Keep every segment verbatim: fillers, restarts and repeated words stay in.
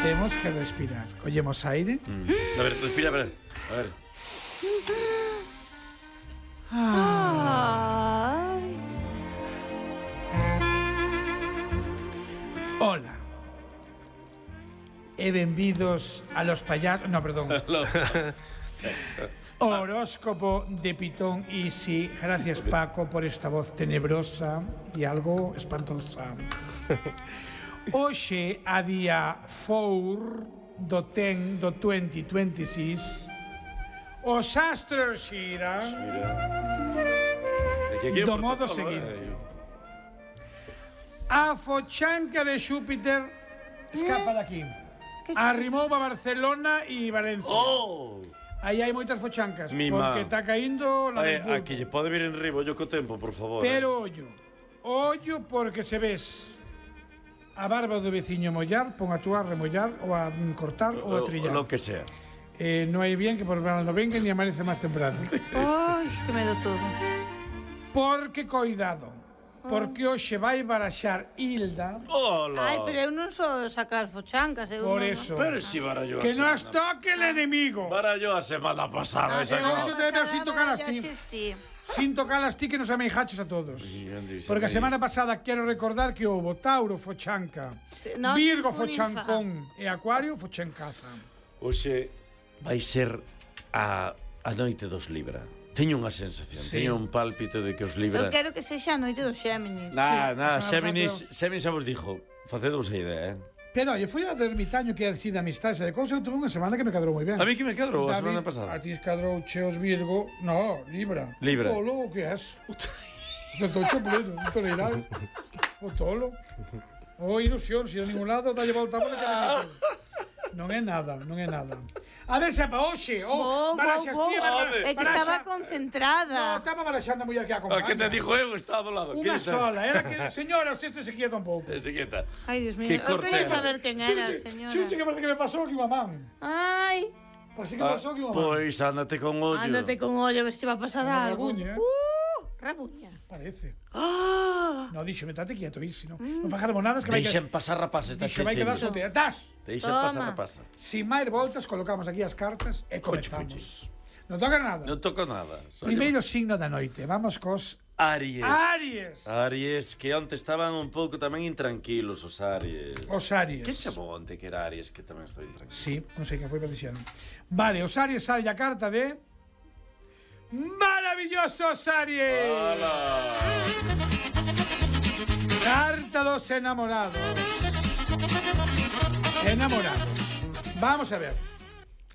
Temos que respirar. Collemos aire. Mm. A ver, respira, a ver. A ver. Ah. Hola. E benvidos a los payasos... No, perdón. Horóscopo de Pitón. Y sí, gracias Paco por esta voz tenebrosa y algo espantosa. Hoxe, a día four do ten do twenty twenty-six, os astros xiran do modo seguinte. A fochanca de Xúpiter escapa daqui. Arrimou a Barcelona e Valencia. Oh! Aí hai moitas fochancas, Mi porque má. está caindo la Ay, del pulpo. aquí lle pode vir en ribo, yo co tempo, por favor. Pero ollo, ollo porque se ves a barba do veciño mollar, pon a túa a remollar ou a cortar ou a trillar. Lo que sea. Eh, no hai bien que por verano no venga ni amanece máis temprano. Ai, que medo todo. Porque coidado, porque hoxe vai baraxar Hilda. Hola. Ai, pero eu non sou sacar fochancas, eu Por non... eso. Pero si barallo Que nos toque el enemigo. Barallo a semana pasada. Ah, esa que hoxe cosa. te veo sin tocar as ti. ti. Sin tocar as ti que nos ameijaches a todos. Sí, Andy, sí, Porque a sí. semana pasada quero recordar que houve Tauro fochanca, No, Virgo fue ninfa. fochancón e Acuario fochancaza. Hoxe vai ser a, a noite dos Libra. Teño unha sensación, Sí. teño un pálpito de que os Eu Libra... quero que sexa a noite dos Xéminis. Nah, nah, Xa, Xéminis, xa, Xéminis xa vos dixo, facedvos a idea, eh? Pero, oye, fui ao ermitaño que é así de amistades e de cousas, eu tuve unha semana que me cadrou moi ben. A mí que me cadrou a David, semana pasada. A ti cadrou cheos Virgo, no, Libra. Libra. O tolo, o que és? O tocho pleno, un toleiral. O tolo. O ilusión, si a ningún lado, dalle volta a bola que non é nada, non é nada. A ver, sepa, hoxe, oh, Bo, bo, baraxas bo. ti, É que estaba concentrada. No, estaba baraxando a muller que A acompaña. que te dijo eu, estaba do lado. Unha sola, era que, señora, usted se quieta un pouco. Se quieta. Ai, Dios mío, Que eu quería cortera. saber quen era, señora. Sí, sí, que parece que me pasou aquí unha man. Ai, Parece que me pasou aquí unha man. Pois ándate con ollo. ándate con ollo, a ver se va a pasar Unha algo. rabuña, eh? Uh, rabuña. Parece. Ah, No, dixo, metate quieto, isi, no. Non fajaremos nada, que vai que... Deixen pasar rapaces, está Dixo, vai quedar cheio. solteira. Das! Deixen Toma. pasar rapaces. Sin máis voltas, colocamos aquí as cartas e comezamos. Non toca nada. Non toco nada. Soy Primeiro signo da noite. Vamos cos Aries. Aries. Aries, que onte estaban un pouco tamén intranquilos os Aries. Os Aries. Que chamou onte que era Aries, que tamén estaba intranquilo? Sí, non sei quen foi, pero dixeron. Vale, os Aries sale a carta de... Maravillosos Aries! Hola. Carta dos enamorados. Enamorados. Vamos a ver.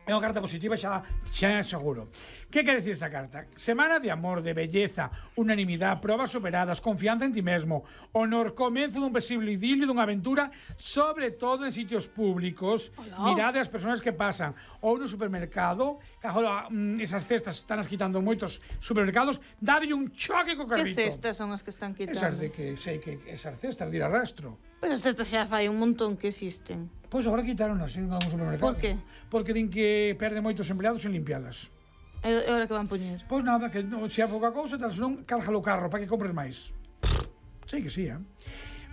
É unha carta positiva, xa, xa seguro. Que quere decir esta carta? Semana de amor, de belleza, unanimidade, probas superadas, confianza en ti mesmo, honor, comezo dun posible idilio, dunha aventura, sobre todo en sitios públicos. Hola. Mirade as persoas que pasan ou no supermercado, que agora mm, esas cestas están as quitando en moitos supermercados, dade un choque co que carrito. cestas son as que están Esas quitando? de que sei que esas cestas de ir a rastro. Pero as cestas xa fai un montón que existen. Pois agora quitaronas en algún supermercado. Por que? Porque din que perde moitos empleados en limpialas. É é hora que van poñer. Pois nada, que no, se há pouca cousa, tal, senón cárgalo o carro para que compres máis. Sei que sí, eh?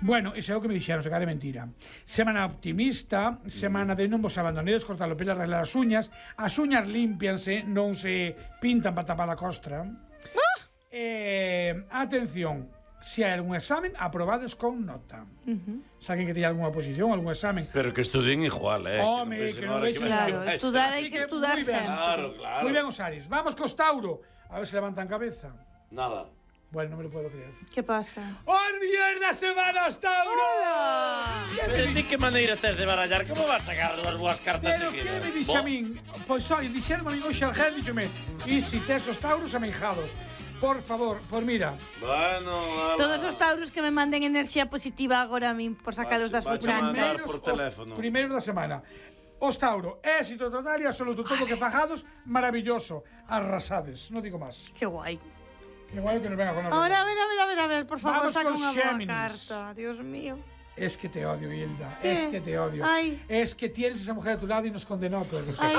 Bueno, iso é o que me dixeron, se cara de mentira. Semana optimista, semana de non vos abandonedes, cortar o pelo, arreglar as uñas. As uñas límpianse, non se pintan para tapar a costra. Ah! Eh, atención, se hai algún examen, aprobades con nota. Uh -huh. Se alguén que teña algunha oposición, algún examen. Pero que estudien igual, eh. Home, pensen que non ahora vexen vai- Claro, Eso. estudar hai Así que que estudar moi ben. sempre. Claro, claro. Muy ben os Aries. Vamos cos Tauro. A ver se levantan cabeza. Nada. Bueno, non me lo puedo creer. Que pasa? ¡Os millóns da semana, os Tauro! Hola! Pero ti que maneira tes de barallar? Como vas a sacar dúas boas cartas Pero seguidas? que me dixe a Bo- min? Pois, oi, dixeron a min hoxe Argel, díxome, e si tes os Tauros ameijados? Por favor, por mira. Bueno, ala. Todos os tauros que me manden enerxía positiva agora a min por sacalos das Vache, vache fochancas. mandar por teléfono. Os primeiros da semana. Os Tauro, éxito total e absoluto, todo que fajados, maravilloso. Arrasades, non digo máis. Que guai. Que guai que nos venga con Ahora, a ver, a ver, a ver, a ver, por favor, Vamos saca con unha boa Xéminis. carta. Dios mío. Es que te odio, Hilda. ¿Qué? Es que te odio. Ay. Es que tienes esa mujer a tu lado y nos condenó a todos. Ai,